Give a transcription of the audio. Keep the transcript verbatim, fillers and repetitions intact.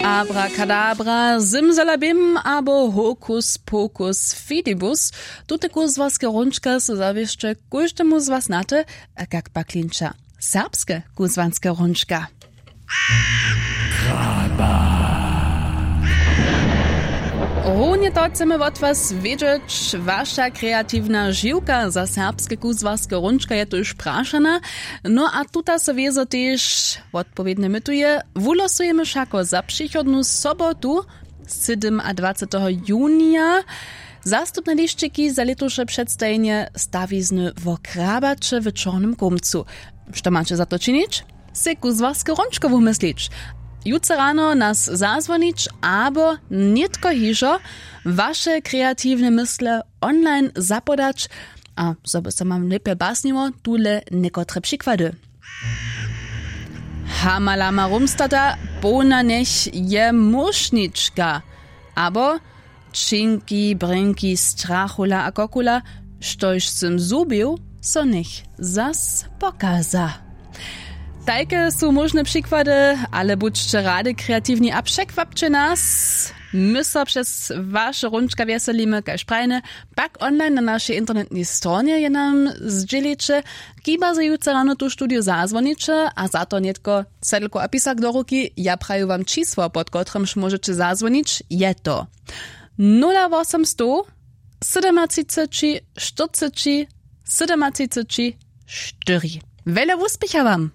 Abrakadabra, simsalabim abo hokus pokus fidibus. Tute kuzłarske hrónčka su zawěsće kóždemu z was znate. A kak pak klinča serbske kuzłarske hrónčka? Runje to chcemy wot was wědźeć. Waša kreatiwna žiwka za serbske kuzłarske hrónčka je tuž prašana. No a tuta so wězo tež wotpowědnje mytuje. Wulosujemy wšako za přichodnu sobotu, sydomadwaceteho junija, zastupne lisćiki za lětuše předstajenje stawizny wo krabaće w čornym kómcu. Što maće za to činić? Sej kuzłarske hrónčko wumyslić, jutře rano nas zazwonić abo nětko hižo waše kreatiwne mysle online zapodać. A zo by so wam lěpje basniło, tule někotre přikłady. Hamalama rumstata, połna njech je móšnička. Abo činki brynki strachula a kokula, štož sym zhubił, so njech zas pokaza. Tajke su móžne přikłady, ale budźće rady kreatiwni a překwapće nas. My so přez waše hrónčka wjeselimy kaž prajne, pak online na našej internetnej stronje je nam zdźěliće. Kiba zo jutře rano tu studiju zazwoniće a za to nětko cedlku a pisak do ruki, ja praju wam čisło pod kotrymž móžeće zazwonić, je to nula wosomstow sydomatřiceći štyrceći sydomatřiceći štyri. Wjele wuspěcha wam.